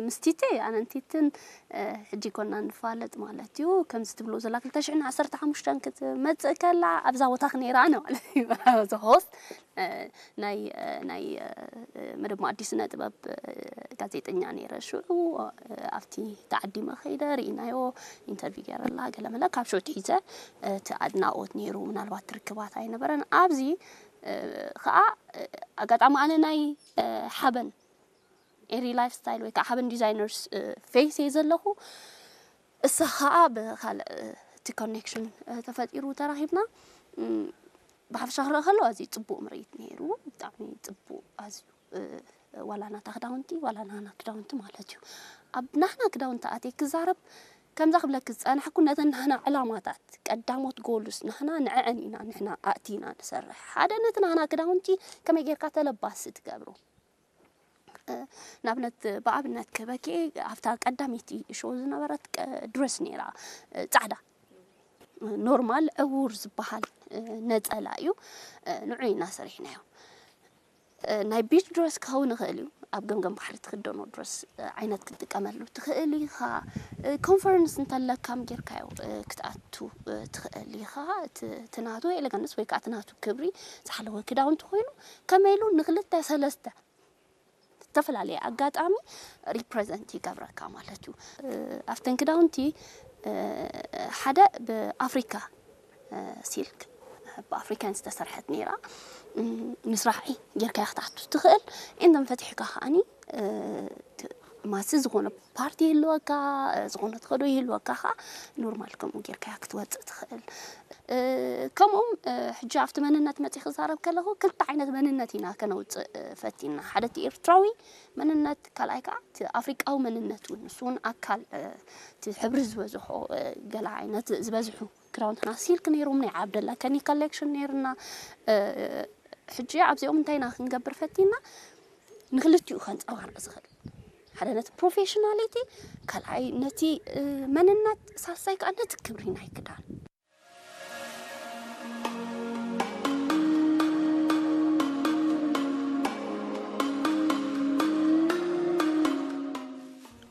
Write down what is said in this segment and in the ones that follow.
ምስቲቴ ኣነንቲትን ሕጂ ኮና ንፋለጥ ማለት እዩ። ከምዚ ትብሎ ዘላ ክልተ ሽሕን ዓሰርተ ሓሙሽተን ክትመጽእ ከላ ኣብዛ ቦታ ክነይራ ኣነ ማለት እዩ። ሆስት ናይ ናይ መደብ ኣዲስ ስነ ጥበብ ጋዜጠኛ ነይረ። ሽዑ ኣብቲ ተዓዲመ ከይደ ርኢናዮ፣ ኢንተርቪው ገይረላ ገለመለ። ካብ ሽዑ ትሒዘ እቲ ኣድናቆት ነይሩ። ምናልባት ትርክባት ኣይነበረን። ኣብዚ ከዓ ኣጋጣሚ ኣነ ናይ ሓበን ኤሪ ላይፍ ስታይል ወይ ከዓ ሓበን ዲዛይነርስ ፌስ እየ ዘለኹ። እሳ ከዓ ብካልእ እቲ ኮኔክሽን ተፈጢሩ ተራኺብና። ብሓፈሻ ክረአ ከሎ ኣዝዩ ጽቡቕ ምርኢት ነይሩ። ብጣዕሚ ጽቡቕ ኣዝዩ። ዋላ ናታ ክዳውንቲ ዋላ ናና ክዳውንቲ ማለት እዩ። ኣብ ናህና ክዳውንቲ ኣትየ ክዛረብ ከምዛ ክብለኪ ዝጸናሕኩ ነተን ናህና ዕላማታት ቀዳሞት ጎልስ ናህና ንዐዐን ኢና ንሕና ኣእቲና ንሰርሕ። ሓደ ነቲ ናህና ክዳውንቲ ከመይ ጌርካ ተለባሲ ትገብሮ። ንኣብነት ብኣብነት ክበኪ ኣብታ ቀዳመይቲ ሾው ዝነበረት ድረስ ነይራ ጻዕዳ ኖርማል ዕውር ዝበሃል ነጸላ እዩ። ንዑ ኢና ሰሪሕናዮ። ናይ ቢች ድረስ ክኸውን ይኽእል እዩ። ኣብ ገምገም ባሕሪ ትኽደኖ ድረስ ዓይነት ክትጥቀመሉ ትኽእል ኢኻ። ኮንፈረንስ እንተለካም ጌርካዮ ክትኣቱ ትኽእል ኢኻ። ትናቱ ኤሌጋንስ ወይ ከዓ ትናቱ ክብሪ ዝሓለወ ክዳውንቲ ኮይኑ ከመይ ኢሉ ንክልተ ሰለስተ ዝተፈላለየ ኣጋጣሚ ሪፕረዘንት ይገብረካ ማለት እዩ። ኣብተን ክዳውንቲ ሓደ ብኣፍሪካ ሲልክ ብኣፍሪካን ዝተሰርሐት ነይራ። ምስራሒ ጌርካ ክትኣቱ ትኽእል። ኤንደን ፈትሕካ ከዓኒ ማሲ ዝኾነ ፓርቲ ይህልወካ፣ ዝኾነ ትኸዶ ይህልወካ ከዓ ኖርማል ከምኡ ጌርካ ክትወፅእ ትኽእል። ከምኡም ሕጂ ኣብቲ መንነት መፂ ክዛረብ ከለኹ ክልተ ዓይነት መንነት ኢና ከነውፅእ ፈቲና። ሓደ እቲ ኤርትራዊ መንነት፣ ካልኣይ ከዓ እቲ ኣፍሪቃዊ መንነት እውን፣ ንሱ እውን ኣካል እቲ ሕብሪ ዝበዝሖ ገላ ዓይነት ዝበዝሑ ክዳውንትና ሲልክ ነይሮም፣ ናይ ዓብደላ ከኒ ኮሌክሽን ነይርና። ሕጂ ኣብዚኦም እንታይ ኢና ክንገብር ፈቲና? ንክልቲኡ ከንፀባርቕ ዝኽእል ሓደ ነቲ ፕሮፌሽናሊቲ፣ ካልኣይ ነቲ መንነት፣ ሳልሳይ ከዓ ነቲ ክብሪ ናይ ክዳን።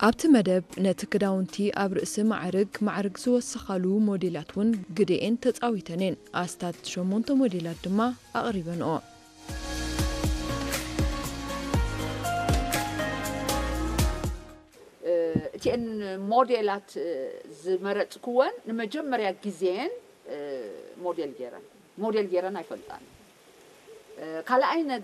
ኣብቲ መደብ ነቲ ክዳውንቲ ኣብ ርእሲ ማዕርግ ማዕርግ ዝወሰኻሉ ሞዴላት እውን ግደኤን ተጻዊተን እየን። ኣስታት ሸሞንተ ሞዴላት ድማ ኣቕሪበንኦ። እቲአን ሞዴላት ዝመረፅክወን ንመጀመርያ ግዜን ሞዴል ገይረን ሞዴል ገይረን ኣይፈልጣን። ካልኣይ ነገር